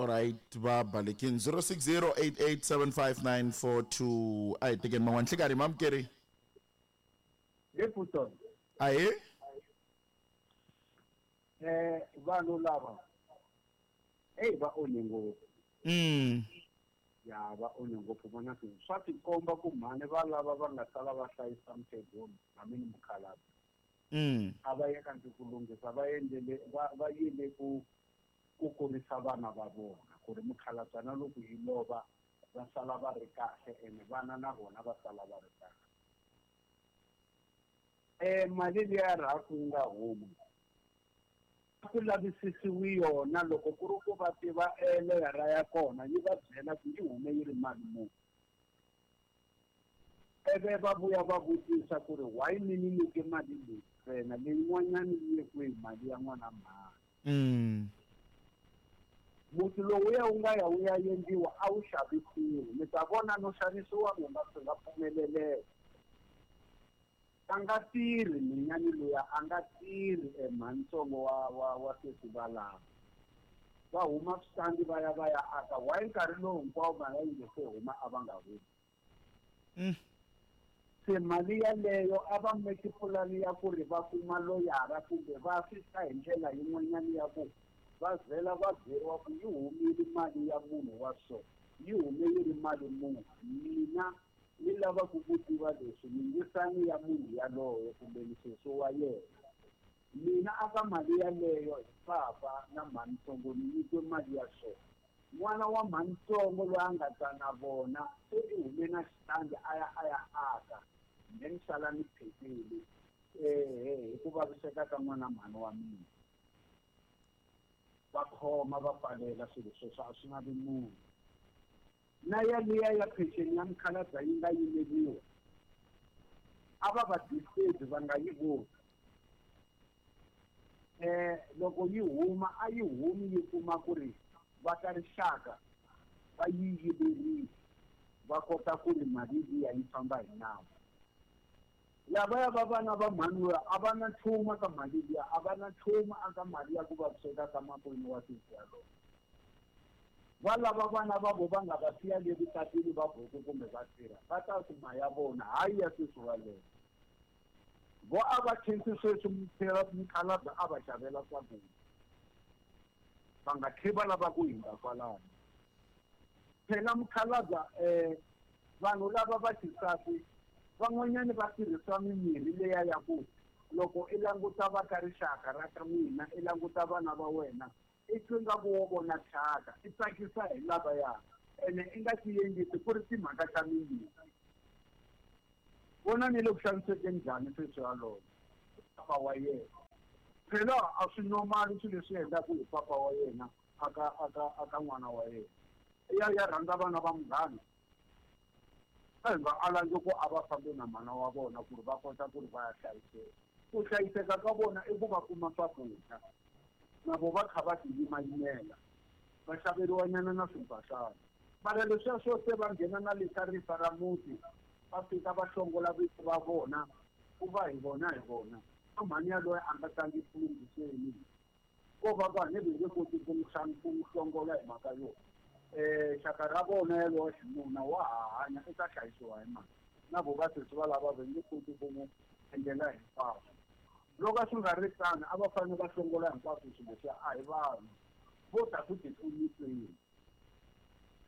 Alright, va balekini 0608875942 a hi tekeni man'wana nhlikani mamukeri. He Puton. Ahee. Vanhu lava eyi va onhe ngopfu. Ya va onhe ngopfu vona ku swa tikomba ku mhani va lava va nga sala va hlayisa mukhegulu hambi ni mukhalabye. A va ye kanti ku lunghisa va endlele va va yile ku ku kurisa vana va vona ku ri mukhalabyana loko yi lova va sala va ri kahle ene vana na vona va sala va ri kahle. Mali liya rhafu yi nga huma a ku lavisisiwi yona loko ku ri ku va tiva leyara ya kona yi va byela ku yi hume yi ri mali muni. Ivi va vuya va vutisa ku ri why mi ni nyike mali leyi ntsena leyin'wanyana yi ye kwihi mali ya n'wana mhani. Muti lowuya wu nga ya wu ya endliwa a wu xavisiwi mi ta vona no xavisiwa n'wina swi nga pfumeleleka. A nga tirhi minyani luya a nga tirhi emhanitsongo wa wa wa sesi valava. Va huma switandi va ya va ya aka why nkarhi lowu hinkwawo mali yi nge se huma a va nga humi. Se mali yaleyo a va meki pulani ya ku ri va kuma loyara kumbe va fika hi ndlela yin'wanyana ya ku va vhela va byeriwa ku yi humile mali ya munhu wa so yi hume yi ri mali muni mina ni lava ku ku tiva leswi mingisani ya munhu yaloye kumbe nisesi wa yena. Mina aka mali yaleyo hi papa na mhanitsongo ni nyikiwe mali ya so. N'wana wa mhanitsongo loyi a nga ta na vona se i hume na xitandi a ya a ya aka then sala ni phetile hi ku vaviseka ka n'wana mhani wa mina. Va khoma va pfalela swilo sweswo a swi lavi munhu. Na yaliya ya peceni ya mukhalabye yi nga yimeriwa a va va disturb va nga yi voni. Loko yi huma a yi humi yi kuma ku ri va ka rixaka va yi yiverile va kota ku ri mali liya yi famba hi nawu. Lavaya va vana va mhani luya a va na nchumu ka mali liya a va na nchumu aka mali ya ku vaviseka ka makwenu wa sesi yaloye. Va lava vana va vo va nga va siya le vukatini va buku kumbe va tirha va ta kuma ya vona hayi ya sesi waleyo. Vo a va khensi sweswi mukhalabye a va xavela swakudya va nga tlhe va lava ku hindza kwalano. Phela mukhalabye vanhu lava va xisati van'wanyani va tirhisa mimirhi leya ya ku loko i languta va ka rixaka ra ka n'wina i languta vana va wena i twi nga ku wo vona thyaka i tsakisa hi lavaya ene i nga ti yengisi ku ri timhaka ta mimirhi. Vona ni le ku xanisekeni njhani sweswi yaloye papa wa yena. Phela a swi normal swilo leswi endlaka hi papa wa yena aka aka aka n'wana wa yena. Ya ya rhandza vana va munghana a hi nga alangi ku a va fambi na mana wa vona ku ri va kota ku ri va ya hlayiseka. Ku hlayiseka ka vona i ku va kuma swakudya na vo va kha va ti yimayimela va xaveriwanyana na swimphahlana. Mara leswiya swo se va nghena na le ka rifa ra muti va fika va hlongola vito va vona ku va hi vona hi vona. Mhani yaloye a nga tlangi ku lunghiseni ko va va ne nge koti ku n'wi hlongola hi mhaka yo xaka ra vona yalowa xinuna wa ha hanya i ta hlayisiwa hi mali na vo va sesi va lava va nge koti ku n'wi endlela hinkwaswo. Loko a swi nga ri tano a va fanele va hlongola hinkwaswo swilo leswiya a hi vanhu vo ta ku tipfuniseni.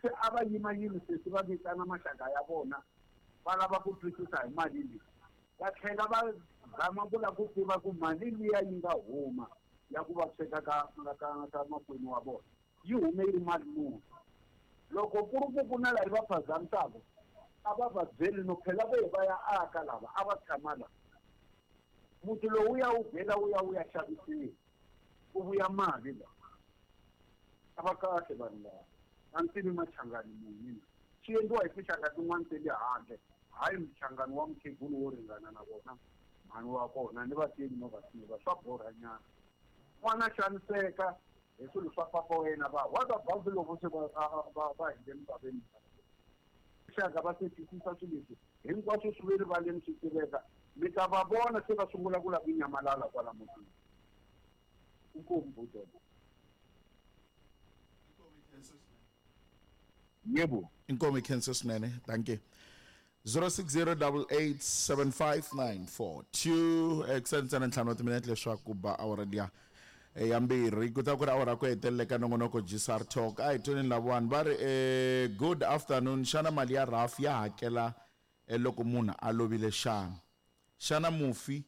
Se a va yimayimi sesi va vitana maxaka ya vona va lava ku twisisa hi mali leyi va tlhela va zama ku lava ku tiva ku mali liya yi nga huma ya ku vaviseka ka ka ka makwenu wa vona yi hume yi ri mali muni. Loko ku ri ku ku na laha va phazamisaka a va va byeli no phela vo va ya aka lava a va tshama la. Muti lowu ya wu vhela wu ya wu ya xavisiwa ku vuya mali la. A va kahle vanhu lava a ni tivi machangani munhu swi endliwa hi tinxaka tin'wani ta le handle hayi mchangani wa mukhegulu wo ringana na vona mhani wa kona ni va tivi no va tiva swa borhanyana. N'wana xaniseka hi swilo swa papa wa yena va what about loko se va va va hindze misaveni. Xaka va se twisisa swilo leswi hinkwaswo swi ve rivaleni swi tiveka mi ta va vona se va sungula ku lava ku nyamalala kwala mutini. Inkomu buti. Yebo. Inkomu hi khensa swinene. Dankie. 0608875942 ekuseni ntsena ntlhanu wa timinete leswaku ba awara liya ya mbirhi ku ta ku ri awara ku hetelela ka nongonoko gsr talk. A hi tweni lavawani va ri good afternoon, xana mali ya raf ya hakela loko munhu a lovile xana? Xana mufi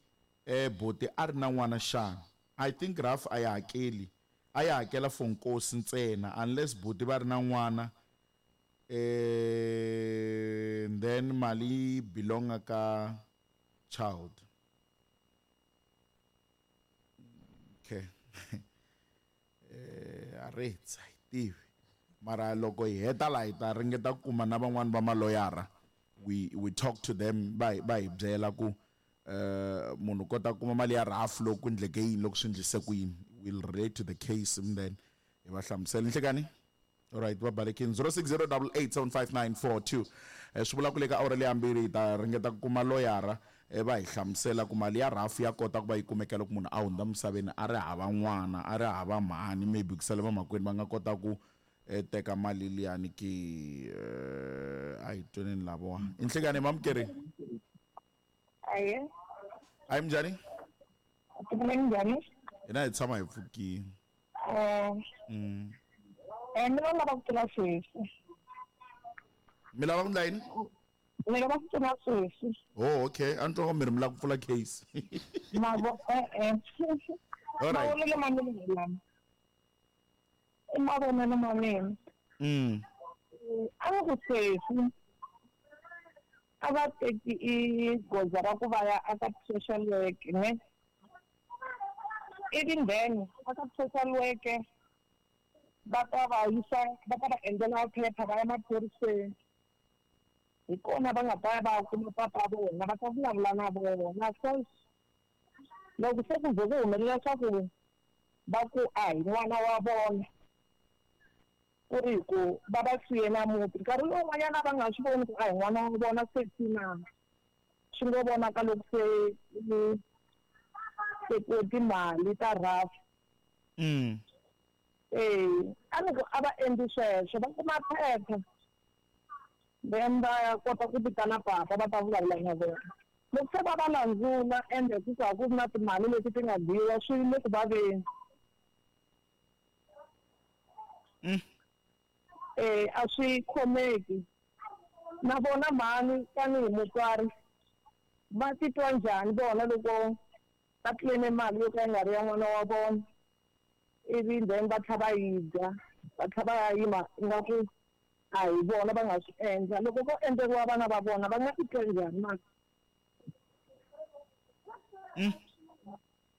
boti a ri na n'wana xana? I think raf a yi hakeli, a yi hakela for nkosi ntsena unless buti va ri na n'wana, then mali yi belonga ka child. Okay. A ri tsa hi tivi mara loko hi heta laha hi ta ringeta ku kuma na van'wani va maloyara, we talk to them, va hi byela ku munhu kota ku kuma mali ya raf loko ku endleke yini, loko swi endlise ku yini. We'll relate to the case and then hi va hlamusela. Nhlekani? Alright, va balekini. 0608875942. Swi vula ku le ka awara leyi yambirhi hi ta ringeta ku kuma loyara, va hi hlamusela ku mali ya raf ya kota ku va yi kumeka loko munhu a hundza misaveni a ri hava n'wana, a ri hava mhani, maybe ku sale vamakwenu va nga kota ku teka mali liyani ki. A hi tweneni lavawa. Inhlekani, mamukeri? Aye. Ayi, minjhani? Minjhani? Hina hi tshama hi pfukile. Mina lava ku pfuna sweswi. Mi lava ku endla yini? Ni lava ku pfuna sweswi. Oh, okay. A ni twa mi ri mi lava ku pfula case. Mavo e-e. Alright. Mavonelo ma mina hi lama. I mavonelo ma mina. A ni ku sweswi a va teki i goza ra ku va ya aka social work ne, ivi then aka social work va ta va yisa, va ta va endlela phepha, va ya maphoriseni, hi kona va nga ta ya va kuma papa vona, va ta vulavula na vona. So loko se ku ze ku humelela swa ku va ku a hi n'wana wa vona, ku ri hi ku va va siye na muti nkarhi lowun'wanyana va nga swi voni ku a hi n'wana wa vona, se tina swi ngo vonaka loko se tekiwe timali ta raf. A ni ku a va endli sweswo, va kuma phepha, then va ya kota ku vitana papa, va ta vulavula na vona. Loko se va va landzula ende ku ka ku na timali leti ti nga dyiwa, swi le ku vaveni. A swi khomeki. Na vona mhani tanihi mutswari va titwa njhani vona loko va claim mali yo ka yi nga ri ya n'wana wa vona, ivi then va tlhela va yi dya, va tlhela va ya yima ingaku a hi vona va nga swi endla? Loko ko endleriwa vana va vona, va nga titwa njhani mali?